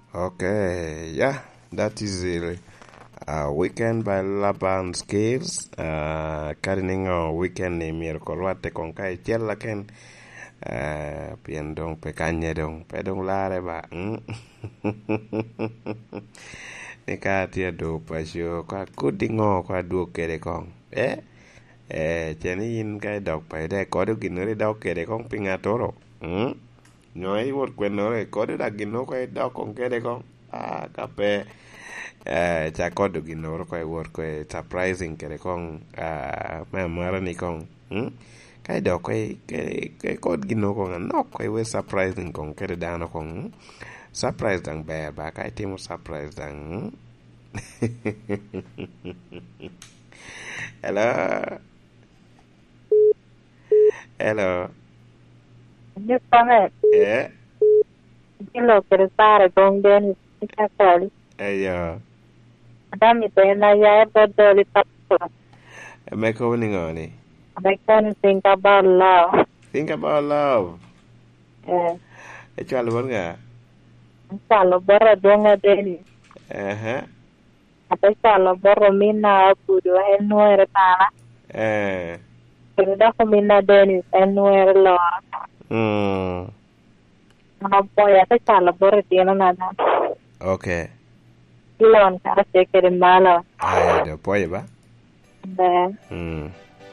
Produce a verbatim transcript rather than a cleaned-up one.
Okay, yeah, that is it. Uh, weekend by Laban Skills. Uh, kadi niŋo weekend ni myero ko rwatte koŋ ka icel lakin, uh, pien doŋ pe kanye doŋ, pe doŋ larre ba. Mm? Ni ka atye adoŋ paco, ko akodi ŋo, ko adwog kede koŋ. Eh? Eh, ce ni yin ka idok paco, de kodo ginnoro idok kede koŋ pi ŋattoro. Mm? Nyo iwot kwennoro, ikodo dak gin oko idok koŋ kede koŋ. Ah, ka pe, eh, ca kodo ginnoro ko iwot ko i surprising kede koŋ, ah, me amara ni koŋ. Mm? Ka idok ko i-, ke-, ke-, kod gin oko anok ko iwe surprising koŋ kede dano koŋ. Mm? Surprise daŋ ber ba, ka itimo surprise daŋ. Mm? Hello? Hello. Ni kome. Eh? Gin lok kede pare gong Dennis, ni ka kali. Eyo. Adam ite na ya e bot doli papo. Me kobo ni ŋo ni? Me kono think about love. Think about love. Eh. Ecwalo bot ŋa? Ecwalo bot adwoŋ a Dennis. Aha. Ate cwalo bot ominna Abudo, en nwere bala. Eh. Kede dok ominna Dennis, en nwere lora. Mm. An apwoyo, ate cwalo bot itinona da. Okay. Ilon karacel kede malo. Aya, do pwoyo ba? Ber. Mm.